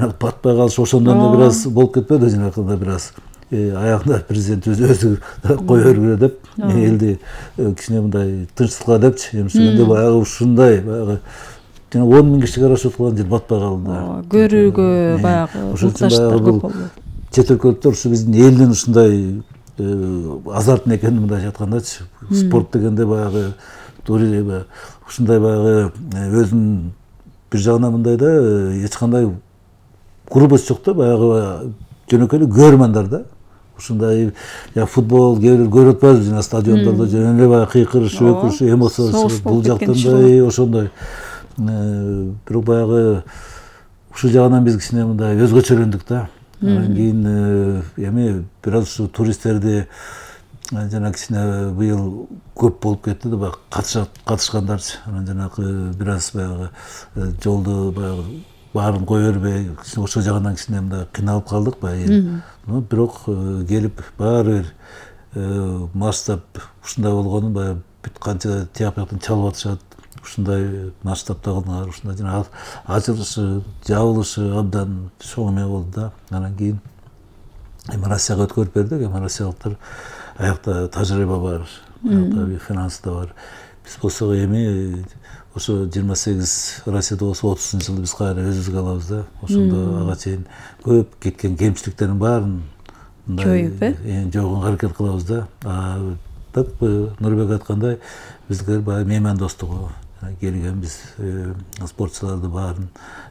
жанагы батпай калыш ошондон да бир аз болуп кетпеди, жанагы бир аз аягында президент өзү кое бергиле деп элди кичине мындай тынчсызга депчи эмчегенде баягы ушундай баягы жана 10 000 кишиге карашып турган жер батпай калды да. Көрүүгө баягы муктаждар көп болду. Чет өлкөлүктөр ушу биздин элдин ушундай азартын экенин мындай айткандачы, спорт дегенде баягы ушундай баягы өзүнүн бир жагынан мындай да эч кандай грубость жок да, баягы жөнөкөй эле көрмандар да. Ушундай футбол кээ бир көрүп атпайбызбы жана стадиондордо жөн эле баягы кыйкырышып, өкүрүшүп, эмоция бул жактан ошондой. Бирок баягы ушул жагынан биз кичине мындай өзгөчөлөндүк да. Анан кийин эми бир аз ушу туристтерди жана кичине быйыл көп болуп кетти да, баягы катышкандарчы. Анан жанагы бир аз баягы жолду баягы баарын кое бербей, ошол жагынан кичине мындай кыйналып калдык баягы. Бирок келип баары бир масштаб ушундай болгонун баягы бүт канча тияк бияктан чалып атышат. Ушундай масштабта кылдыңар, ушундай жана ачылышы, жабылышы абдан чоң эме болду да. Анан кийин эми Россияга өткөрүп бердик. Эми россиялыктар аякта тажрыйба бар, аякта финанс да бар. Биз болсо эми ошо 28 Россияда болсо 30-жылы биз кайра өзүбүзгө алабыз да. Ошондо ага чейин көп кеткен кемчиликтердин баарын жоюп, жойгонго аракет кылабыз да. Так Нурбек айткандай, биздер баягы меймандостугу келген биз спортчуларды баарын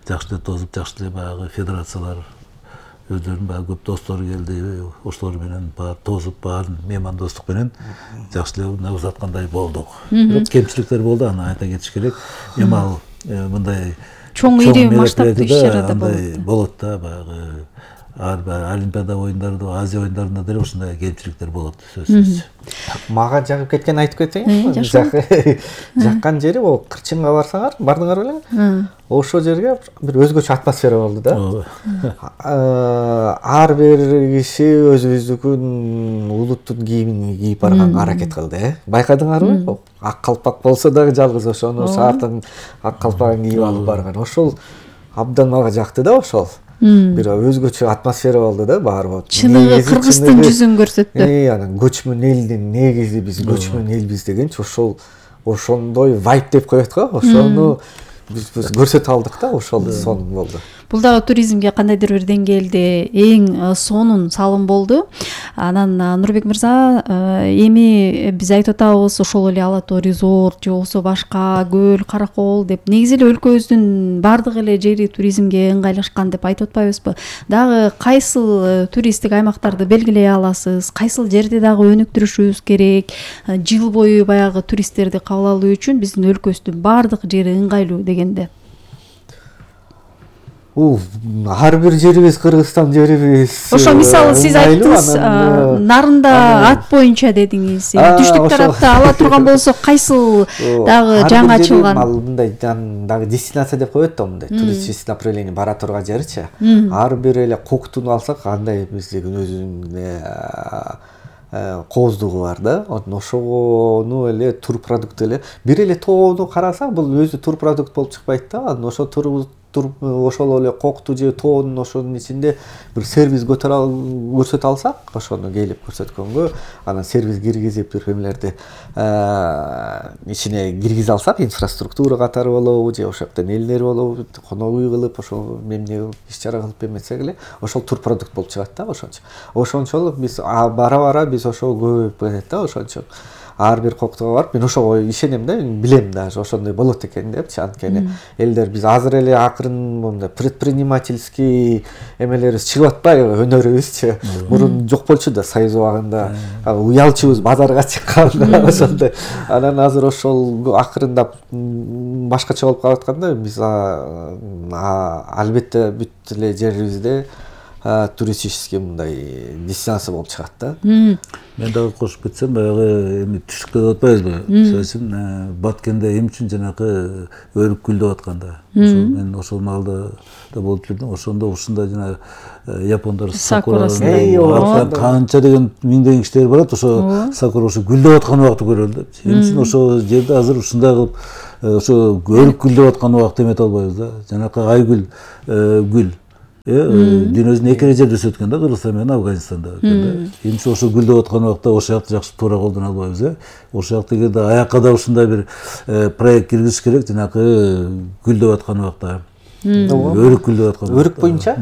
жакшы эле тосуп, жакшы эле баягы федерациялар өздөрүнүн баягы көп достору келди, ошолор менен баары тосуп, баарын меймандостук менен жакшы эле мына узаткандай болдук. Бирок кемчиликтер болду, аны айта кетиш керек. Эми ал мындай чоң ири масштабтуу иш-чарада болот да, баягы Олимпиада оюндарында, Азия оюндарында деле ушундай кемчиликтер болот сөзсүз. Мага жагып кеткен айтып кетейин. Жаккан жери ол Кырчынга барсаңар, бардыңар белең? Ошол жерге бир өзгөчө атмосфера болду да. Ар бир киши өзүбүздүкүн улуттун кийимин кийип барганга аракет кылды. Байкадыңарбы? Ак калпак болсо дагы жалгыз ошону шаардын ак калпагын кийип алып барган. Ошол абдан мага жакты да ошол. Бир өзгөчө атмосфера болду да, баары болуп. Чыныгы кыргыздын жүзүн көрсөттү. Анан көчмөн элдин негизи биз көчмөн элбиз дегенчи ошондой вайб деп коет го, ошону биз көрсөтө алдык да, ошол сонун болду. Бул дагы туризмге кандайдыр бир деңгээлде эң сонун салым болду. Анан Нурбек мырза, эми биз айтып атабыз ошол эле Ала Тоо резорт же болбосо башка көл, Каракол деп негизи эле өлкөбүздүн бардык эле жери туризмге ыңгайлашкан деп айтып атпайбызбы? Дагы кайсыл туристтик аймактарды белгилей аласыз? Кайсыл жерди дагы өнүктүрүшүбүз керек? Жыл бою баягы туристтерди кабыл алуу үчүн биздин өлкөбүздүн бардык жери ыңгайлуу дегенде. Ар бир жерибиз Кыргызстан жерибиз. Ошо мисалы сиз айттыңыз, нарында ат боюнча дедиңиз. Түштүк тарапта ала турган болсо кайсыл дагы жаңы ачылган? Ал мындай дагы дестинация деп коет да, мындай туристический направление бара турган жерчи. Ар бир эле Коктуну алсак, андай биздин өзүнүн кооздугу бар да. Ошону эле турпродукт эле бир эле тоону карасаң, бул өзү турпродукт болуп чыкпайт да. Анан ошо ошол эле Кокту же тоонун ошонун ичинде бир сервис көрсөтө алсак, ошону келип көрсөткөнгө, анан сервис киргизип бир эмелерди ичине киргизе алсак, инфраструктура катары болобу же ошол жактан элдер болобу, конок үй кылып, ошол эмне иш-чара кылып эмесек эле, ошол турпродукт болуп чыгат да, ошончо. Ошончолук биз бара биз ошол көбөйүп кетет да, ошончо. Ар бир Коктуга барып, мен ошого ишенем да, билем даже ошондой болот экен депчи. Анткени элдер биз азыр эле акырын мондай предпринимательский эмелерибиз чыгып атпайбы, өнөрүбүзчү. Мурун жок болчу да, Союз убагында уялчубуз базарга чыкканда ошондой. Анан азыр ошол акырындап башкача болуп калатканда, биз албетте бүт эле жерибизде туристический мындай дестинация болуп чыгат да. Мен дагы кошуп кетсем, баягы эми түштүккө деп атпайбызбы? Мисалы үчүн Баткенде эмне үчүн жанакы өрүк гүлдөп атканда. Ошол мен ошол маалда да болуп жүрдүм. Ошондо ушундай жана япондар сакурасында канча деген миңдеген кишилер барат, ошо сакура ошо гүлдөп аткан убакытты көрөлү деп. Эмне үчүн ошол жерде азыр ушундай кылып ошо өрүк гүлдөп аткан убакытты эмете албайбыз да. Жанакы айгүл гүл дүйнөдүн эки эле жерде өсөт экен да, Кыргызстан менен Афганистанда экен да. Эмне ошо гүлдөп аткан убакта ошол жакты жакшы туура колдоно албайбыз ошол жакта эгерде аякка да ушундай бир проект киргизиш керек, жанакы гүлдөп аткан убакта. Өрүк гүлдөп аткан. Өрүк боюнча?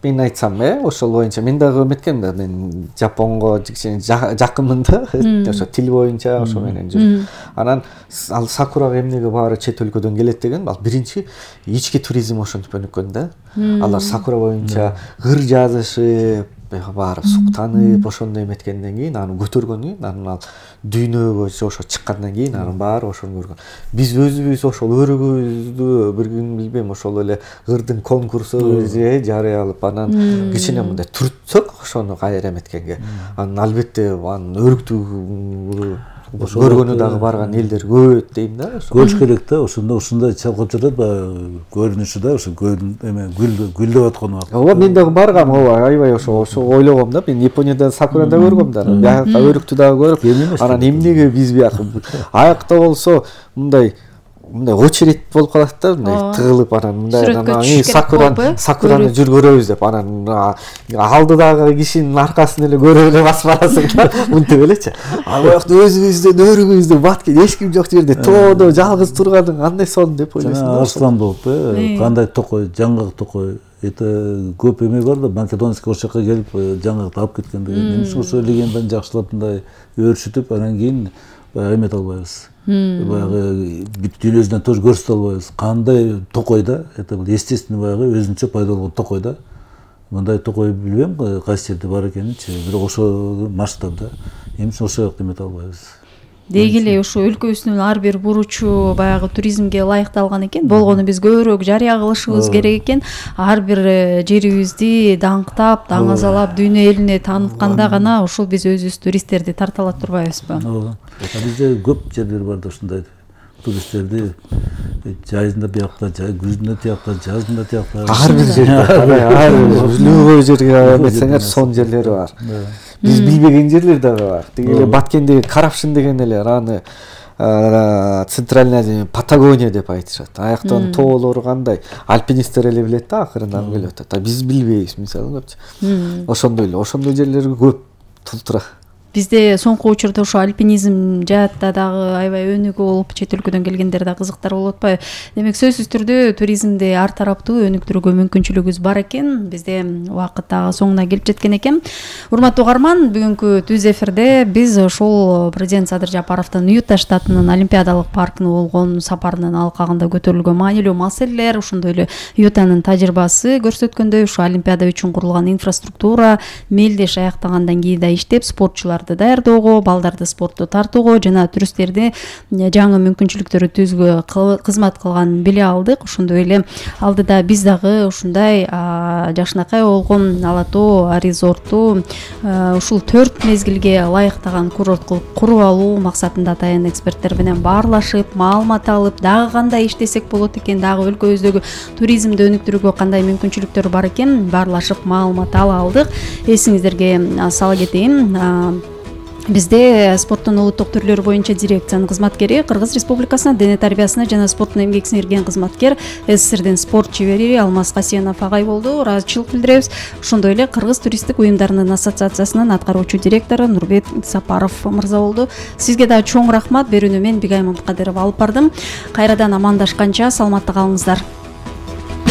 Мен айтсам, ошол боюнча мен дагы эметкем да, мен Жапонго кичине жакынмын да, ошо тил боюнча ошо менен жүрүп. Анан ал сакурага эмнеге баары чет өлкөдөн келет деген, ал биринчи ички туризм ошентип өнүккөн да. Алар сакура боюнча ыр жазышып, барып суктанып, ошондой эметкенден кийин, аны көтөргөндөн кийин, анан ал дүйнөгө ошо чыккандан кийин анын баары ошону көргөн. Биз өзүбүз ошол өрүгүбүздү бир күн билбейм, ошол эле ырдын конкурсу жарыялап, анан кичине мындай түртсөк ошону кайра эметкенге. Анан албетте анын өрүктү көргөнү дагы барган элдер көп дейм да. Көрүш керек да, ушундай чалкып жатат баягы көрүнүшү да, ошо эме гүлдөп аткан убакта. Ооба, мен дагы баргам, аябай ошо ойлогом да. Мен Японияда сакурада көргөм да. Биякта өрүктү дагы көрүп, анан эмнеге биз биякта аякта болсо мындай очередь болуп калат да, мындай тыгылып, анан мындай сакураны жүр көрөбүз деп, анан алдыдагы кишинин аркасын эле көрүп эле басып барасың да, мынтип элечи. Ал жакта өзүбүздүн өрүгүбүздү баткен эч ким жок жерде тоодо жалгыз турганың кандай сон деп ойлойсуң да. Арслан болуп, кандай токой, жаңгак токой, көп эме бар да, Македонский ошол жака келип жаңгакты алып кеткен деген. Эмне үчүн ошо легенданы жакшылап мындай өршүтүп, анан кийин эмете албайбыз. Баягы бүт дүйнөсүнөн тоже көрсөтө албайбыз. Кандай токой да, это бул естественный баягы өзүнчө пайда болгон токой да. Мындай токой билбейм кайсы жерде бар экенинчи, бирок ошол масштабда. Эмне үчүн ошол жакта эмете албайбыз? Деги эле ошо өлкөбүздүн ар бир буручу баягы туризмге ылайыкталган экен. Болгону биз көбүрөөк жарыя кылышыбыз керек экен. Ар бир жерибизди даңктап, даңазалап, дүйнө элине таанытканда гана ошол биз өзүбүз туристтерди тарта ала турбайбызбы? Ооба. Бизде көп жерлер бар да ушундай туристтерди жайында биякта, күзүндө тиякта, жазында тиякта. Ар бир жерде, любой жерге эметсеңер сон жерлери бар. Биз билбеген жерлер дагы бар. Деги эле Баткендеги Карапшин деген эле аны Центральная Азия, Патагония деп айтышат. Аяктан тоолору кандай, альпинисттер эле билет да, акырындан келип атат. Биз билбейбиз, мисалы көпчү. Ошондой жерлер көп толтура. Бизде соңку учурда ошо альпинизм жаатта дагы аябай өнүгүү болуп, чет өлкөдөн келгендер да кызыктар болуп атпайбы? Демек сөзсүз түрдө туризмди ар тараптуу өнүктүрүүгө мүмкүнчүлүгүбүз бар экен. Бизде убакыт дагы соңуна келип жеткен экен. Урматтуу угарман, бүгүнкү түз эфирде биз ошол президент Садыр Жапаровдун Юта штатынын Олимпиадалык паркына болгон сапарынын алкагында көтөрүлгөн маанилүү маселелер, ошондой эле Ютанын тажрыйбасы көрсөткөндөй, ушу Олимпиада үчүн курулган инфраструктура мелдеш аяктагандан кийин да иштеп, спортчулар даярдоого, балдарды спортто тартууга жана туристтерди жаңы мүмкүнчүлүктөрү түзүүгө кызмат кылганын биле алдык. Ошондой эле алдыда биз дагы ушундай жакшынакай болгон Ала Тоо резорту ушул 4 мезгилге ылайыктаган курорт кылып куруп алуу максатында атайын эксперттер менен баарлашып, маалымат алып, дагы кандай иштесек болот экен, дагы өлкөбүздөгү туризмди өнүктүрүүгө кандай мүмкүнчүлүктөр бар экен, баарлашып маалымат ала алдык. Эсиңиздерге сала кетейин, бизде спорттун улуттук түрлөрү боюнча дирекциянын кызматкери, Кыргыз Республикасынын дене тарбиясына жана спорттун эмгек сиңирген кызматкер, СССРдин спорт чебери Алмаз Касенов агай болду. Ыраазычылык билдиребиз. Ошондой эле Кыргыз туристтик уюмдарынын ассоциациясынын аткаруучу директору Нурбек Сапаров мырза болду. Сизге да чоң рахмат. Берүүнү мен Бигай Мамыкадырова алып бардым. Кайрадан амандашканча саламатта калыңыздар.